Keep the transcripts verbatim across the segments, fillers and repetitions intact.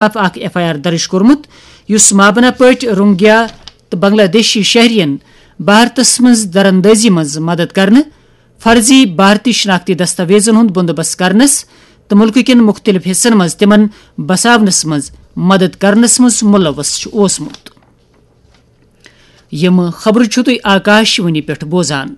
خلاف اکھ F I R درج کوٚرمُت، یُس مابنا پٲٹھۍ روہنگیا تہٕ بنگلہ دیشی شہرین بھارتس منٛز دراندازی منٛز مدد کرنہٕ، فرضی بھارتی شناختی دستاویزن ہُنٛد بندوبست کرنس تہٕ مُلکہٕ کٮ۪ن مُختٔلِف حصن منٛز تِمن بساونس منٛز مدد کرنس منٛز ملوث چھُ اوسمُت۔ یِم خبرٕ چھِو تُہۍ آکاش وانی پٮ۪ٹھ بوزان۔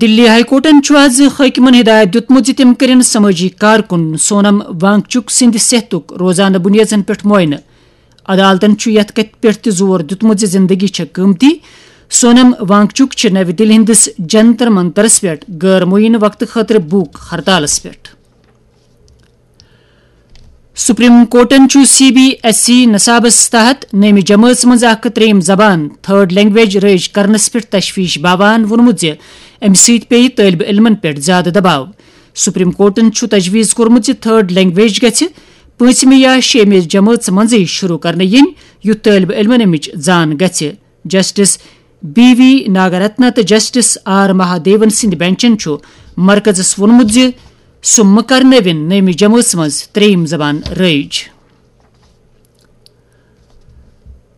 دِلی ہائی کورٹَن چھُ آز حٲکِمَن ہدایت دِیُتمُت زِ تِم کٔرِن سمٲجی کارکُن سونم وانگچک سٕنٛدِ صحتُک روزانہٕ بُنیٲدَن پٮ۪ٹھ معائنہٕ۔ عدالتَن چھُ یَتھ کَتھِ پٮ۪ٹھ تہِ زور دِیُتمُت زِ زِندگی چھےٚ قۭمتی۔ سونم وانگچک چھِ نَوِ دِلہِ ہٕنٛدِس جنتر منترَس پٮ۪ٹھ غٲر معینہ وقتہٕ خٲطرٕ بھوک ہڑتالَس پٮ۪ٹھ۔ سپریم کورٹَن چھُ سی بی ایس ای نصابَس تحت نٔیمہِ جمٲژ منٛز اکھ ترٛیٚیِم زبان، تھرڈ لینگویج، رٲیِج کرنَس پٮ۪ٹھ تشویش باوان ووٚنمُت زِ اَمہِ سۭتۍ پیٚیہِ طٲلبہِ علمَن پٮ۪ٹھ زیادٕ دباو۔ سپریم کورٹَن چھُ تجویز کوٚرمُت زِ تھرڈ لینگویج گژھِ پٲنٛژمہِ یا شیٚیِمہِ جمٲژ منٛزٕے شروع کرنہٕ یِنۍ، یُتھ طٲلبہِ علمَن اَمِچ زان گژھِ۔ جسٹس بی وی ناگارتنا تہٕ جسٹس آر مہادیون سٕنٛدِ بینچَن چھُ مرکزَس ووٚنمُت زِ سُہ مہٕ کرنٲوِن نٔیمہِ جمٲژ منٛز ترٛیٚیِم زبان رٲیِج۔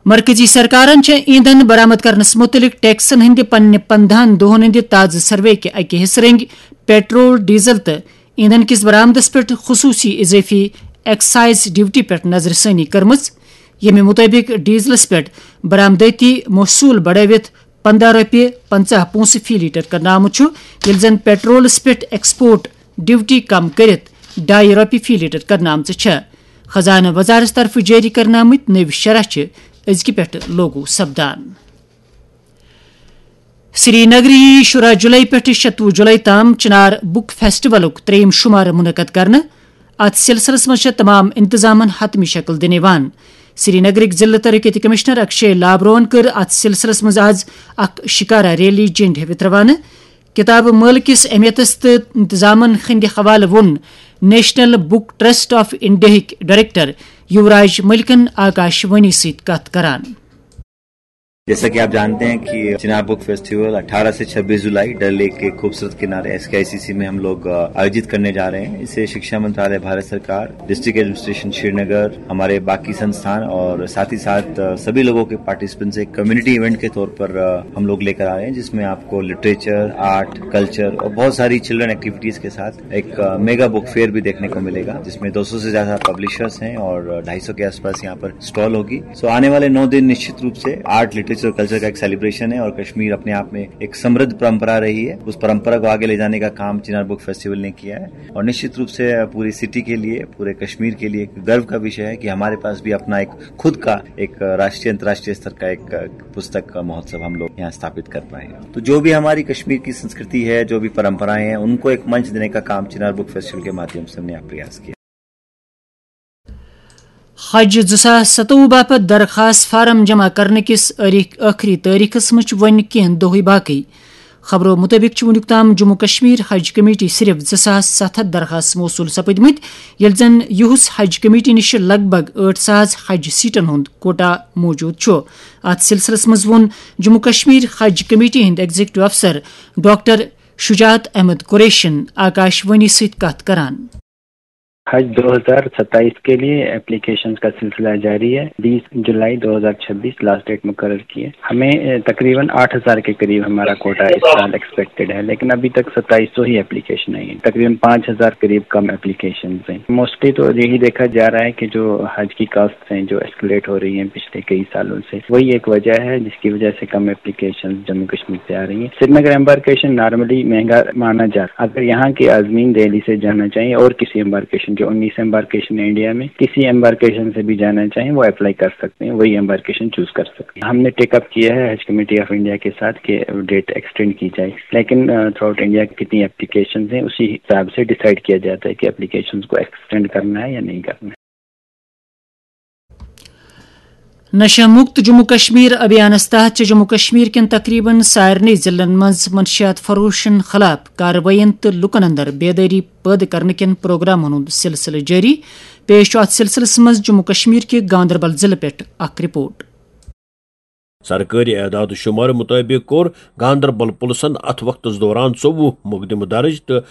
مرکزی سرکارن چھےٚ ایندھن برآمد کرنس مُتعلق ٹیکسن ہٕنٛدِ پننہِ پندہَن دۄہَن ہٕنٛدِ تازٕ سروے کہِ اکہِ حصہٕ رنگۍ پیٹرول، ڈیزل تہٕ ایندھن کِس برآمدس پٮ۪ٹھ خصوٗصی اضٲفی ایکسائز ڈیوٹی پٮ۪ٹھ نظر ثٲنی کٔرمٕژ، ییٚمہِ مُطٲبِق ڈیزلس پٮ۪ٹھ برآمدٲتی محصوٗل بڑٲوِتھ پندہ رۄپیہِ پنژاہ پونٛسہٕ فی لیٹر کرنہٕ آمُت چھُ، ییٚلہِ زن پیٹرولس پٮ۪ٹھ ایکسپورٹ ڈیوٹی کم کٔرِتھ ڈاے رۄپیہِ فی لیٹر کرنہٕ آمژٕ چھےٚ۔ خزانہٕ وزارت طرفہٕ جٲری کرنہٕ آمٕتۍ نٔوۍ شرح چھِ أزکہِ پٮ۪ٹھٕ لاگو سپدان۔ سری نگر یی شُراہ جولائی پٮ۪ٹھٕ شتوُہ جولائی تام چنار بک فیسٹیولُک ترٛیٚیِم شمارٕ منعقد کرنہٕ۔ اتھ سلسلس منٛز چھےٚ تمام انتظامن حتمی شکل دِنہٕ یِوان۔ سری نگرٕکۍ ضلع ترقیتی کمشنر اکشے لابروہن کٔر اتھ سلسلس منٛز آز اکھ شکارا ریلی جنڈ ہیٚوِتھ روانہٕ۔ کتابہٕ مٲلہٕ کِس اہمیتس تہٕ انتظامن ہٕنٛدِ حوالہٕ ووٚن نیشنل بک ٹرسٹ آف انڈیاہٕکۍ ڈائریکٹر یوراج ملکن آکاش وانی سۭتۍ کتھ کران۔ जैसा कि आप जानते हैं कि चिनार बुक फेस्टिवल अठारह से छब्बीस जुलाई डल लेक के खूबसूरत किनारे एसकेआईसीसी में हम लोग अ, आयोजित करने जा रहे हैं। इसे शिक्षा मंत्रालय भारत सरकार, डिस्ट्रिक्ट एडमिनिस्ट्रेशन श्रीनगर, हमारे बाकी संस्थान और साथ ही साथ अ, सभी लोगों के पार्टिसिपेंट से कम्युनिटी इवेंट के तौर पर अ, हम लोग लेकर आ रहे हैं, जिसमें आपको लिटरेचर, आर्ट, कल्चर और बहुत सारी चिल्ड्रन एक्टिविटीज के साथ एक मेगा बुक फेयर भी देखने को मिलेगा, जिसमें दो सौ से ज्यादा पब्लिशर्स हैं और ढाई सौ के आसपास यहाँ पर स्टॉल होगी। सो आने वाले नौ दिन निश्चित रूप से आर्ट, लिटरेचर और कल्चर का एक सेलिब्रेशन है और कश्मीर अपने आप में एक समृद्ध परंपरा रही है। उस परंपरा को आगे ले जाने का काम चिनार बुक फेस्टिवल ने किया है और निश्चित रूप से पूरी सिटी के लिए, पूरे कश्मीर के लिए एक गर्व का विषय है कि हमारे पास भी अपना एक खुद का एक राष्ट्रीय, अंतर्राष्ट्रीय स्तर का एक पुस्तक महोत्सव हम लोग यहाँ स्थापित कर पाए। तो जो भी हमारी कश्मीर की संस्कृति है, जो भी परंपराएं हैं, उनको एक मंच देने का काम चिनार बुक फेस्टिवल के माध्यम से हमने प्रयास किया। حج زٕ ساس ستووُہ باپتھ درخواست فارم جمع کرنہٕ کِس ٲریٖخ-، ٲخری تٲریخس منٛز چھِ وۄنۍ کینٛہہ دۄہٕے باقٕے۔ خبرو مُطٲبِق چھِ وُنیُک تام جموں کشمیر حج کمیٹی صرف زٕ ساس ستھ ہتھ درخواست موصوٗل سپٕدمٕتۍ، ییٚلہِ زن یُہُس حج کمیٹی نِش لگ بگ ٲٹھ ساس حج سیٹن ہُنٛد کوٹا موجود چھُ۔ اتھ سلسلس منٛز ووٚن جموں کشمیر حج کمیٹی ہٕنٛدۍ ایگزیکٹو افسر ڈاکٹر شجاعت احمد قریشن آکاش وانی سۭتۍ کتھ کران۔ حج دو ہزار ستائیس کے لیے اپلیکیشن کا سلسلہ جاری ہے۔ بیس جولائی دو ہزار چھبیس لاسٹ ڈیٹ مقرر کی ہے۔ ہمیں، اے، تقریباً آٹھ ہزار کے قریب ہمارا کوٹا اس سال ایکسپیکٹڈ ہے، لیکن ابھی تک ستائیس سو ہی اپلیکیشن آئی ہیں، تقریباً پانچ ہزار قریب کم اپلیکیشن ہیں۔ موسٹلی تو یہی دیکھا جا رہا ہے کہ جو حج کی کاسٹ ہیں جو ایسکلیٹ ہو رہی ہیں پچھلے کئی سالوں سے، وہی ایک وجہ ہے جس کی وجہ سے کم اپلیکیشن جموں کشمیر سے آ رہی ہیں۔ سری نگر امبارکیشن نارملی مہنگا مانا جاتا ہے۔ اگر یہاں کے عازمین دہلی سے جانا چاہیں اور کسی امبارکیشن، جو انیس امبارکیشن ہے انڈیا میں، کسی امبارکیشن سے بھی جانا چاہیں، وہ اپلائی کر سکتے ہیں، وہی امبارکیشن چوز کر سکتے ہیں۔ ہم نے ٹیک اپ کیا ہے حج کمیٹی آف انڈیا کے ساتھ کہ ڈیٹ ایکسٹینڈ کی جائے، لیکن تھرو آؤٹ انڈیا کتنی اپلیکیشنز ہیں، اسی حساب سے ڈیسائیڈ کیا جاتا ہے کہ اپلیکیشنز کو ایکسٹینڈ کرنا ہے یا نہیں کرنا ہے۔ نشہ مکت جموں کشمیر ابھیانس تحت چھِ جموں کشمیر کٮ۪ن تقریباً سارنٕے ضلعن منٛز منشیات فروشن خلاف کاروٲیین تہٕ لوٗکن اندر بیدٲری پٲدٕ کرنہٕ کٮ۪ن پروگرامن ہُنٛد سلسلہٕ جٲری۔ پیش چھُ اتھ سلسلس منٛز جموں کشمیر کہِ گاندربل ضلعہٕ پٮ۪ٹھ اکھ رپورٹ۔ سرکٲری اعداد و شمار مطٲبق کوٚر گاندربل پُلسن اتھ وقتس دوران ژوٚوُہ مقدمہٕ درج تہٕ